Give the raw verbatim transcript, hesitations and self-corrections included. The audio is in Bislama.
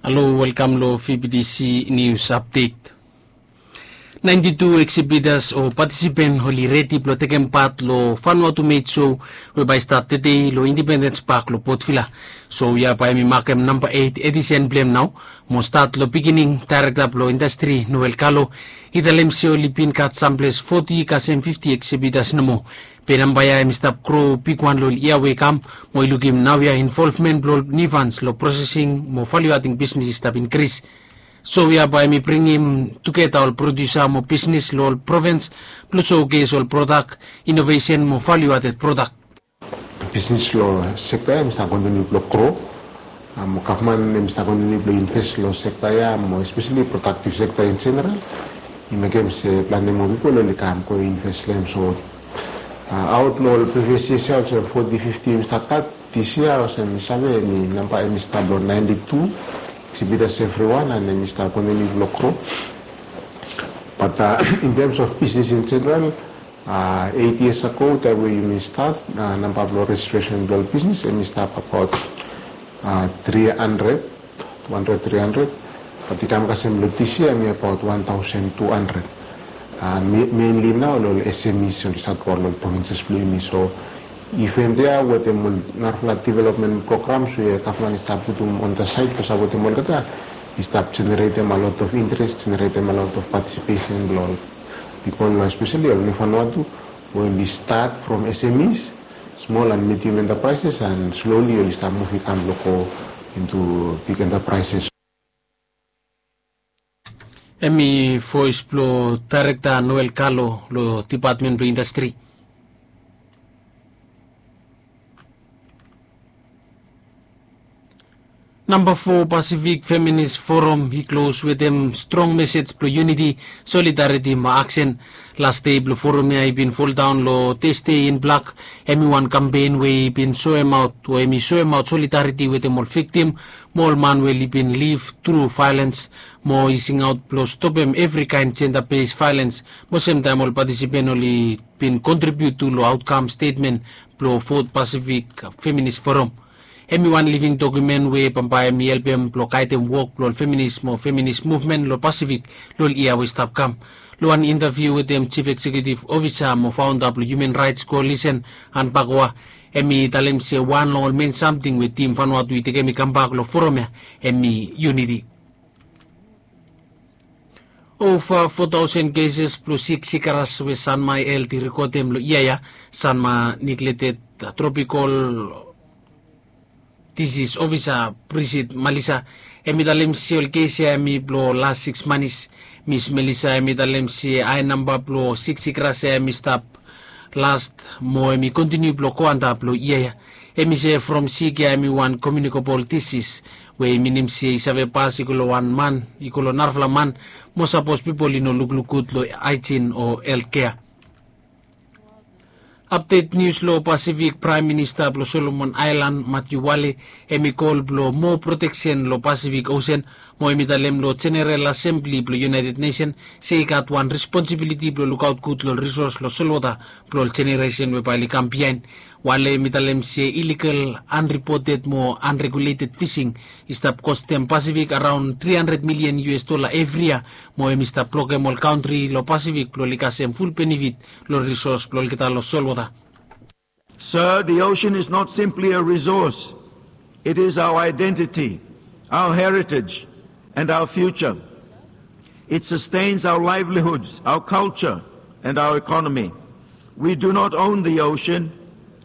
Halo, welkam lo V B T C News Update. Ninety-two exhibitors o participant oli redi blo tekem pat lo Vanuatu Made Show we bae i stat tede lo Independence Park lo Port Vila. Show ya bae hemi makem namba eight edition blo hem nao. Mo stat lo beginning, director blo industry Noel Kalo i talem se oli bin gat samples forty kasem fifty exhibitors nomo. Be namba ya hemi stap gro bigwan lo ol yia we i kam, mo i lukim naoia involvement blo ol Nifans lo processing mo value adding business i stap increase. Show ya bae hemi bringim tugeta ol producer mo business lo ol province blo showcase ol product, innovation mo value added product. Business lo sector ya hemi stap continue blo gro. Mo gavman hemi stap continue blo invest lo sector ya, mo especially productive sector in general. I mekem se plante moa pipol oli kam go invest lo hem. So aot lo ol previous years ya olsem forty, fifty hemi stap gat, this year olsem mi save hemi namba hemi stap lo ninety-two exhibitors everyone, and hemi stap continue blo gro. But in terms of business in general, eight years ago taem we yumi stat, namba blo registration blo ol business hemi stap abaot three hundred, two hundred, three hundred. But i kam kasem lo this year hemi abaot one thousand two hundred. Mainly nao lo ol S M Es oli stat go lo ol provinces blo yumi. So event ya wetem ol narafala development programs we gavman i stap putum on the side blo sapotem olgeta, i stap generatem a lot of interest, generatem a lot of participation blo ol pipol, especially ol New Vanuatu, we oli stat from S M Es, small and medium enterprises, and slowly oli stap muv i kam blo go into big enterprises. Hemi voes blo Director Noel Kalo lo Department blo Industry. Namba foa Pacific Feminist Forum i klos wetem strong message blo unity, solidarity mo aksen. Las dei blo forum ya i bin foldaon lo Thursday in Black. Hemi wan kampen we i bin soemaot, we hemi soemaot solidarity wetem ol viktim mo ol man we oli bin liv tru vaelens, mo i singaot blo stopem evri kaen gender based vaelens. Mo semtaem ol patisipen oli bin kontribiut tu lo aotkam stetmen blo Fourth Pacific Feminist Forum. Hemi wan living dokumen we bambae hemi helpem blo gaedem wok blo ol feminis mo feminis muvmen lo Pasifik lo ol yia we i stap kam. Lo wan intaviu wetem Chief Executive Officer mo faonda blo Human Rights Coalition, Anne Pakoa, hemi talem se wan lo ol men samting we Team Vanuatu i tekem i kambak lo forum ya hemi unity. Ova four thousand cases blo sik sikras we Sanma Health i rekodem lo yia ya, Sanma Neglected Tropical Disease Officer Bridget Malisa, hemi talem se ol kes ya hemi blo las six manis. Miss Malisa hemi talem se hae namba blo sik sikras ya hemi stap last mo hemi kontiniu blo go antap lo yia ya. Hemi se from sik ya hemi wan communicable disease, we i minim se i save pas i go lo wan man i go lo narafala man, mo sapos pipol i no lukluk gud lo haejin o health care. Update nius lo Pasifik, Praem Minista blo Solomon Aelan, Matthew Wale, hemi kol blo moa proteksen lo Pasifik Osen, mo hemi talem lo Jeneral Asembli blo United Nation se i gat wan responsibiliti blo lukaot gud lo ol risos lo solwota blo ol jeneresen we bae oli kam biaen. Wale hemi talem se illegal, unreported mo unregulated fishing i stap kostem Pasifik araon three hundred million U S dollar evri yia, mo hemi stap blokem ol kantri lo Pasifik blo oli kasem ful benefit lo risos blo olgeta lo solwota. Sir, the ocean is not simply a resource. It is our identity, our heritage, and our future. It sustains our livelihoods, our culture, and our economy. We do not own the ocean,